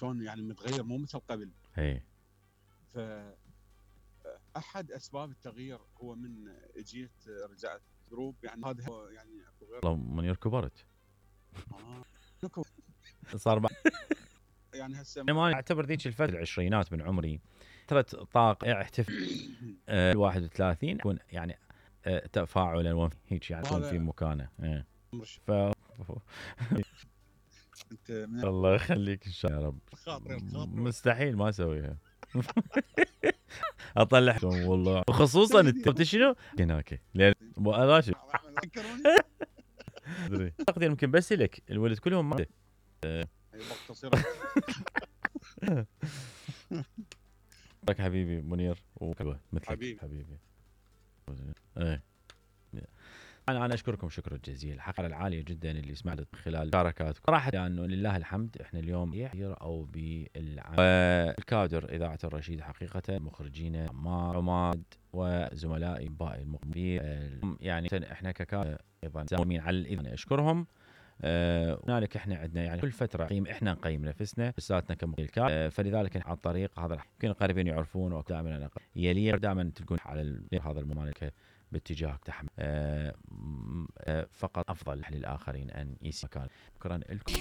شلون يعني متغير مو مثل قبل. اي فاحد اسباب التغيير هو من اجيت رجعت جروب، يعني هذا يعني اكو غير. والله منير كبرت. نكو صار يعني هسه ما اعتبر ذيك الفتره العشرينات من عمري فتره طاقه احتفل 31 يكون يعني تفاعلا هيك يعني يكون في مكانه. ف انت الله يخليك ان شاء الله يا رب. مستحيل ما اسويها. اطلع والله، وخصوصا انت شنو هناك لان مؤلاشي ادري اقدر يمكن بس لك الولد كلهم ما مقتصره. لك حبيبي منير وكبه مثلك حبيبي. ايه انا اشكركم شكرا جزيلا الحلقه العاليه جدا اللي سمعت خلال مشاركاتكم صراحه لانه يعني لله الحمد احنا اليوم يحير او بالكادر اذاعه الرشيد حقيقه مخرجين عماد وزملائي باقي المقيمين يعني احنا ككادر ايضا زامين على الاذاعه اشكرهم. هنالك احنا عندنا يعني كل فتره احنا نقيم نفسنا لساتنا كمقيم فلذلك عن طريق هذا يمكن القريبين يعرفون ودائما انا يلي دائما تلقون على هذا الممالكه باتجاه تحمل فقط افضل للاخرين ان يسمع مكان. شكرا لكم.